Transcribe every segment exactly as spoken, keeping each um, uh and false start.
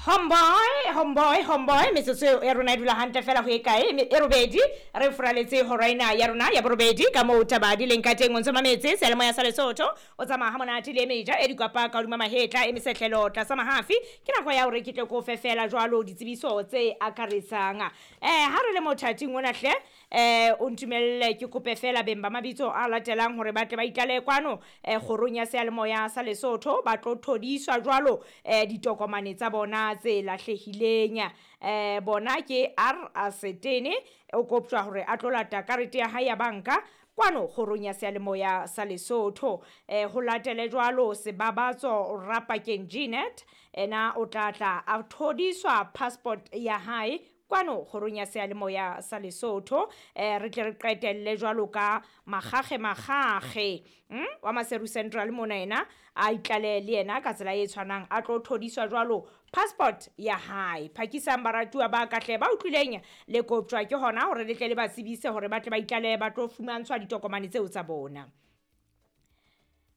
Homeboy, homeboy, homeboy, metsotso ya rona e dula hantle fela ho e kae e robedi re furaletse hora ena ya rona ya borobedi ka moo taba di leng ka teng. O ntso mametse seyalemoya sa Lesotho, o tsamaya ha monate le meja e dikwapa ka hodima mahetla e mesehlelo tlasa mahafi. Ke nako ya hore ke tle ko fe fela jwalo ditsebiso tse akaretsang. Eh ha re le mothating ona hle, eh o ntumelle ke kope fela beng ba mabitso a latelang hore ba tle ba itlale kwano eh kgorong ya seyalemoya sa Lesotho, ba tlo thodiswa jwalo eh ditokomane tsa bona tse lahlehileng. Eh bona ke R Asetene, o koptjwa hore a tlo lata karete ya hae ya banka kwano kgorong ya seyalemoya sa Lesotho. Eh ho latele jwalo Sebabatso Rapakeng Jeanette, ena o tla tla a thodiswa passport ya hae kwano kgorong ya seyalemoya sa Lesotho. Eh re tle re qetelle jwalo ka Makgakge Makgakge mm? wa Maseru Central mona, ena a itlale le yena ka tsela e tshwanang, a tlo thodiswa jwalo passport ya hae. Phakisang baratuwa ba kahle ba utlwileng le koptjwa ke hona hore le tle le ba tsebise hore ba tle ba itlale ba tlo fumantshwa ditokomane tseo tsa bona.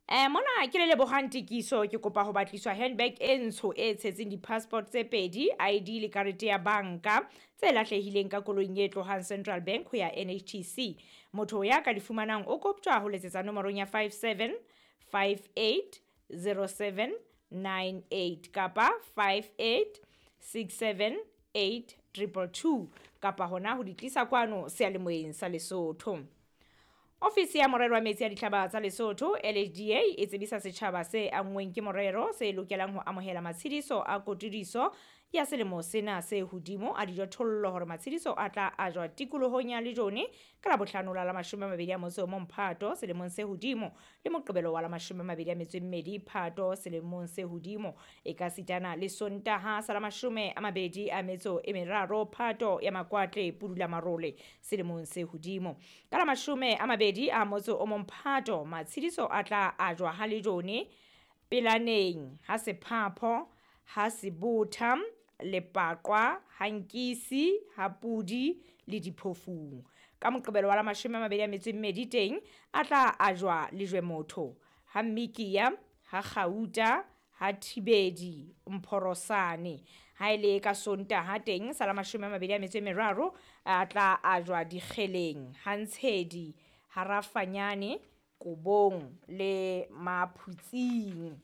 Eh mona ke le lebohang Tikiso, ke kopa ho batliswa handbag e ntsho e tshetseng di-passport tse pedi, I D le karete ya banka tse lahlehileng ka koloing e tlohang Central Bank ho ya N H T C. Motho ya ka di fumanang o koptjwa ho letsetsa nomorong ya five seven five eight zero seven nine eight kapa five eight six seven eight triple two kapa hona ho di tlisa kwano seyalemoyeng sa Lesotho. Ofisi ya morero wa metsi ya dihlaba tsa Lesotho L H D A e tsebisa setjhaba se anngweng ke morero se lokelang ho amohela matshediso a kotudiso ya selemo sena se hodimo a dijothollo hore matshediso a tla ajwa tikolohong ya Lejone ka Labohlano la la mashome a mabedi a motso o mong Phato selemong se hodimo le Moqebelo wa la mashome a mabedi a metso e mmedi Phato selemong se hodimo, e ka sitana le Sontaha sa la mashome a mabedi a metso e meraro Phato ya Makwatle Pudula Marole selemong se hodimo. Ka la mashome a mabedi a motso o mong Phato matshediso a tla ajwa ha Lejone, Pelaneng, ha Sephapho, ha Sebotha, Lepaqwa, Hankisi, ha Pudi le Diphofung. Ka Moqebelo wa la mashome a mabedi a metso e mmedi teng a tla ajwa Lejwe Motho, ha Mmikiya, ha Kgauta, ha Thibedi, Mphorosane. Ha ele ka Sontaha teng sa la mashome a mabedi a metso e meraro a tla ajwa Dikgeleng, ha Ntshedi, ha Rafanyane, Kobong le Maphutsing.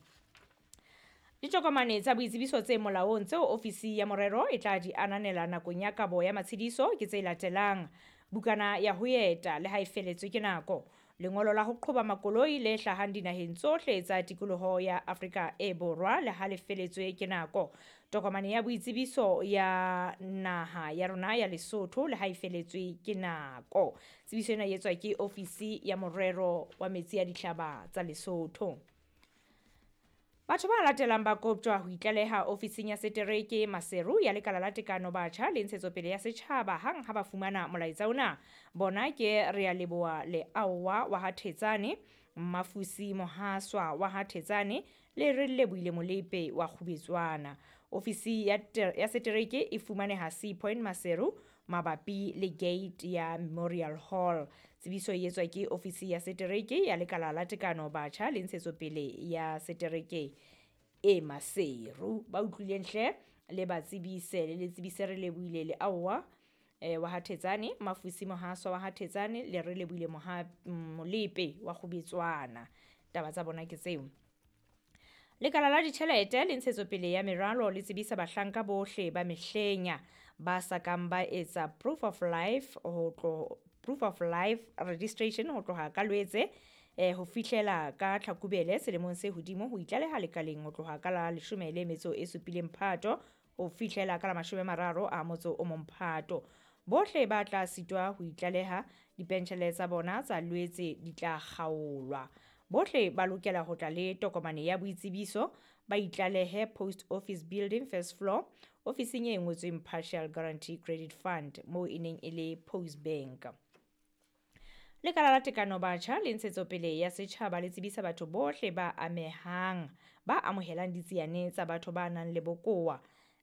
Ditokomane tsa boitsebiso tse molaong tseo ofisi ya morero e tla di ananela nakong ya kabo ya matshediso ke tse latelang: bukana ya ho eta le ha e feletswe ke nako, lengolo la ho qhoba makoloi le hlahang dinaheng tsohle tsa tikoloho ya Afrika e Borwa le ha le feletswe ke nako, tokomane ya boitsebiso ya naha ya rona ya Lesotho le ha e feletswe ke nako. Tsebiso ena e etswa ke ofisi ya morero wa metsi ya dihlaba tsa Lesotho. Batho ba latelang ba koptjwa ho itlaleha ofising ya setereke Maseru ya lekala la tekano batjha le ntshetsopele ya setjhaba hang ha ba fumana molaetsa ona. Bona ke Realeboa Leaowa wa ha Thetsane, Mafusi Mohaswa wa ha Thetsane le Relebohile Molepe wa Kgubetswana. Ofisi ya ya setereke e fumaneha Sea Point Maseru mabapi le gate ya Memorial Hall. Tsebiso e etswa ke ofisi ya setereke ya lekala la tekano batjha le ntshetsopele ya setereke e Maseru. Ba utlwileng hle le ba tsebise le le tsebise Relebohile Leaowa eh wa ha Thetsane, Mafusi Mohaswa wa ha Thetsane le Relebohile Molepe wa Kgubetswana. Taba tsa bona ke tseo. Lekala la ditjhelete le ntshetsopele ya meralo le tsebisa bahlanka bohle ba mehlenya ba sa kang ba etsa proof of life ho tlo proof of life registration ho tloha ka Lwetse eh ho fihlela ka Tlhakubele selemong se hodimo ho itlaleha lekaleng ho tloha ka la leshome le metso e supileng Phato ho fihlela ka la mashome a mararo a motso o mong Phato. Bohle ba tla sitwa ho itlaleha dipentjhele tsa bona tsa Lwetse di tla kgaolwa. Bohle ba lokela ho tla le tokomane ya boitsebiso, ba itlalehe Post Office Building first floor, ofising e ngotsweng Partial Guarantee Credit Fund moo e neng e le Post Bank. Lekala la tekano batjha le ntshetsopele ya setjhaba le tsebisa batho bohle ba amehang ba amohelang ditsiane tsa batho ba nang le bokowa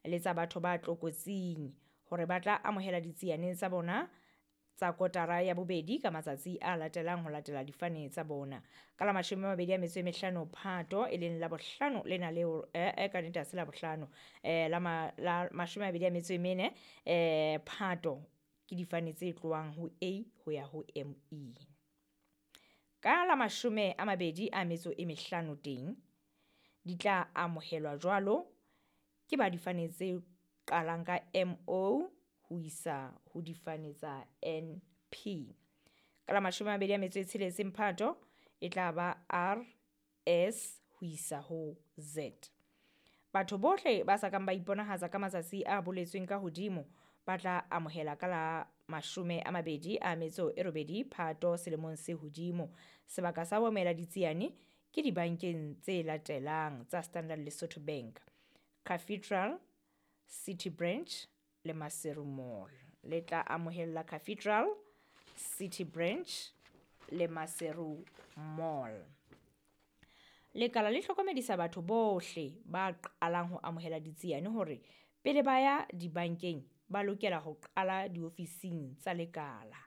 le tsa batho ba tlokotsing hore ba tla amohela ditsiane tsa bona tsa kotara ya bobedi ka matsatsi a latelang ho latela difane tsa bona. Ka la mashome a mabedi a metso e mehlano Phato, e leng la bohlano lena leo, eh, eh, ka nnete ha se la bohlano, eh, la, ma, la mashome a mabedi a metso e mene eh, Phato, ke difane tse tlohang ho A ho ya ho M E. Ka la mashome a mabedi a metso e mehlano teng, di tla amohelwa jwalo ke ba difane tse qalang ka M O ho isa ho difane tsa N P. Ka la mashome a mabedi a metso e tsheletseng Phato, e tla ba R S ho isa ho Z. Batho bohle ba sa kang ba iponahatsa ka matsatsi a boletsweng ka hodimo ba tla amohela ka la mashome a mabedi a metso e robedi Phato selemong se hodimo. Sebaka sa ho amohela ditsiane ke dibankeng tse latelang tsa Standard Lesotho Bank, Cathedral, City Branch le Maseru Mall. Le tla amohella Cathedral, City Branch le Maseru Mall. Lekala le hlokomedisa batho bohle ba qalang ho amohela ditsiane hore pele ba ya dibankeng ba lokela ho qala diofising tsa lekala,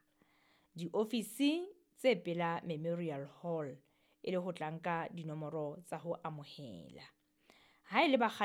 diofisi tse pela Memorial Hall, e le ho tla nka dinomoro tsa ho amohela. Ha e le ba kgale